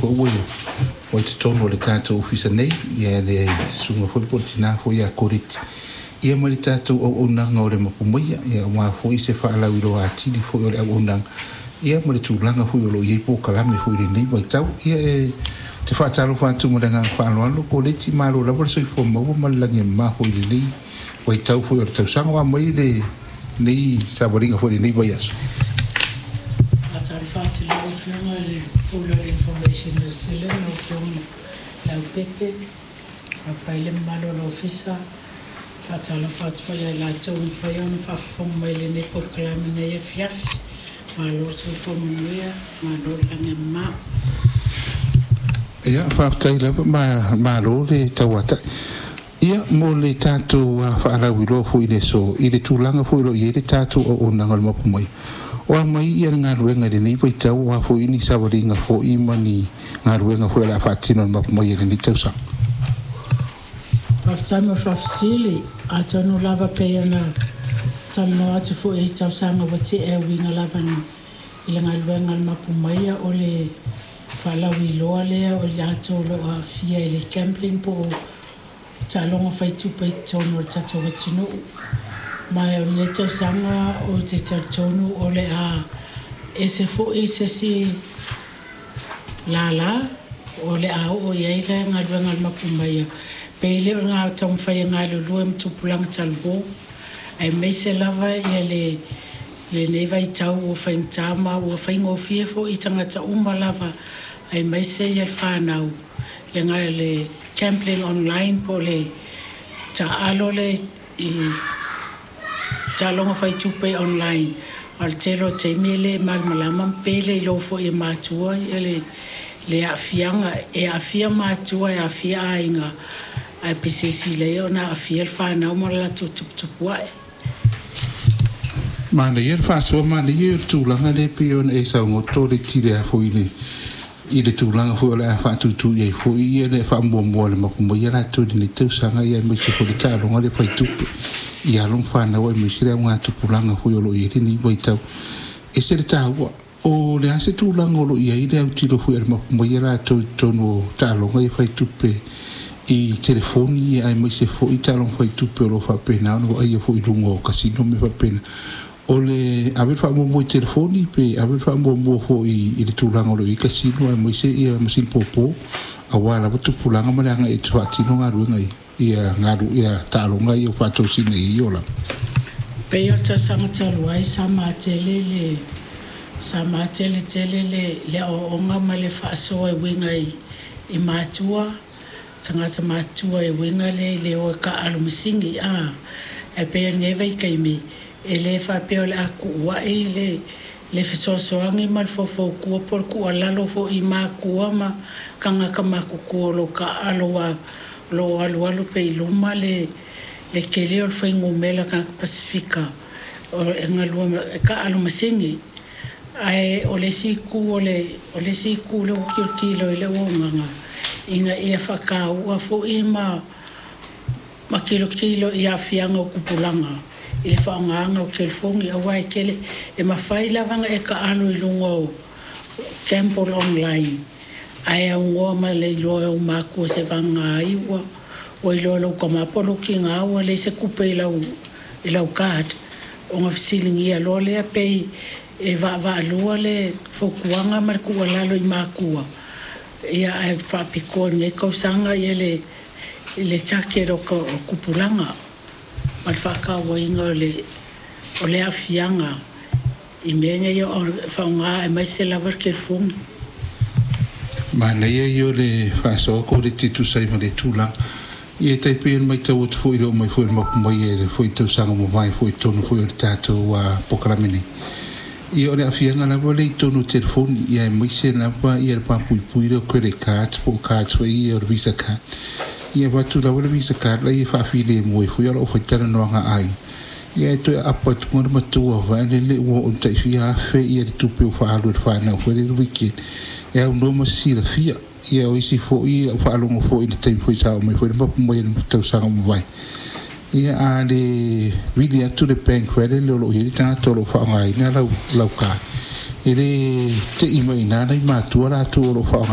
foi ua ua i totonu o le tatou ofisa nei ia le susuga foi po o le tina foi ia Koleti ia ma le tatou auaunaga o le Mapu Maia ia aua foi se faalauiloa atili foi o le auaunaga ia ma le tulaga foi o lo o i ai polokalame foi i lenei vaitau. Ia e te faatalofa atu ma le agaga faaaloalo Koleti, malo lava le soifua maua ma le lagi e mama foi i lenei vaitau foi o le tausaga. O a mai lenei savaliga foi i lenei vaiaso? Faatalofa atu i lau Afioga i le Pule o le Information New Zealand, lau Afioga Leaupepe, faapea ai le mamalu o le Ofisa. Faatalofa atu foi ia i latou ua mafai ona faafofoga mai i lenei polokalame i lenei afiafi. Malo le soifua manuia, malo le lagi e mama. Ia, faafetai lava, malo le tauatai. Ia, mo le tatou faalauiloa foi i le aso, i le tulaga foi o lo o i ai le tatou auaunaga o le Mapu Maia, o a mai ia le galuega i lenei vaitau, o a foi ni savaliga foi ma ni galuega foi o le a faatino e le Mapu Maia i lenei tausaga? Faafetai mo le faafesili. Atonu lava pei ona talanoa atu foi i tausaga ua tea e uiga lava i le galuega a le Mapu Maia o le faalauiloa lea o i latou o lo o aafia i le gambling po o taaloga faitupe i totonu o le tatou atunuu. Ma o lenei tausaga ou te talitonu o le a ese foi se isi lala o le a oo i ai le galuega a le Mapu Maia pei le o le taumafai e galulue ma tupulaga talavou aemaise lava ia le lenei vaitau ua faigata ma ua faigofie foi i tagata uma lava aemaise ia le fanau le le gambling online po o le taaalo le i taaloga faitupe online. A o le tele o taimi e le malamalama ma pe le iloa foi e matua ia le aafiaga e aafia matua e aafia aiga ae pei se i ona aafia le fanau ma le latou tuputupuae. Manaia le faasoa, manaia le tulaga lea pei ona e saunoa Koleti le a foi i le tulaga foi o le a faatutu i ai foi ia le faamuamua a le Mapu Maia latou i lenei tausaga ia aemaise foi le taaloga le faitupe i alo ma fanau aemaise le augatupulaga foi o lo o i ai lenei vaitau. E ese le taua. O le a se tulaga o lo o i ai le autilo foi a le Mapu Maia latou i totonu o taaloga ia faitupe i telefoni aemaise foi taaloga faitupe o lo o faapena ona vaaia foi i luga o kasino ma mea faapena? O le ave le faamuamua i telefoni pe ave le faamuamua foi i le tulaga o lo o i ai kasino aemaise ia masini popo aua lava tupulaga ma le agai e faatino galuega ia galu ia taaloga ia ua faatosina i ia olaga? Pei o le tausaga talu ai sa matele le sa matele tele le aoaoga ma le faasoa e uiga i matua, tagata matutua e uiga le i le o e taaalo masini a. Ae pei o lenei vaitaimi e le faapea o le a tuuai le fesoasoani ma le faufautua po o le tuualalo foi i matua ma tagata matutua o lo o taaalo aua o lo o alualu pea i luma le tele o le fuainumera tagata Pasefika e galue e taaalo masini. Ae o le isi itu o le isi itu lea ua tilotilo i ai le auaunaga ina ia faataua foi ma tilotilo i aafiaga o tupulaga i le faaaogaina o telefoni aua e tele e mafai lava ona e taalo i luga o gamble online ae aunoa ma le iloa e ou matua seivagana ai ua iloa e lou tama po o lou tina ua leai se tupe i lau card ona fesiligia loa lea. Pei e vaavaalua le fautuaga ma le tuualalo i matua ia ae faapitoa i lenei tausaga ia le target o tupulaga ma le faatauaina o le aafiaga i mea nei o le faaaoga aemaise lava le telefoni. Manaia ia o le faasoa Koleti e tusa ai ma le tulaga. Ia e tai pei ona matau atu foi i le oo mai foi o le Mapu Maia i le foi tausaga ua mavae foi i totonu foi o le tatou polokalame nei. Ia o le aafiaga lava lea i totonu o telefoni ia aemaise lava ia le papuipui lea o credit cards po o cards foi ia o le Visa card. Ia avatu lava le Visa card laia e faafilemu ai foi o lau faitalanoaga a aiga. Ia e toe aapa atu le matua vaelele ua oo i tai fia afe ia le tupe ua faaalu e le fanau foi lele weekend e aunoa ma se silafia. Ia o isi foi lau faalogo foi i le taimi foi sa oo mai foi le Mapu Maia i le tausaga ua mavae. Ia a le vili atu le bank foi lele o lo o i ai le tagata o lo o faaaogaina lau card, e le tei mai i ina nai matua latou o lo o faaaogaina.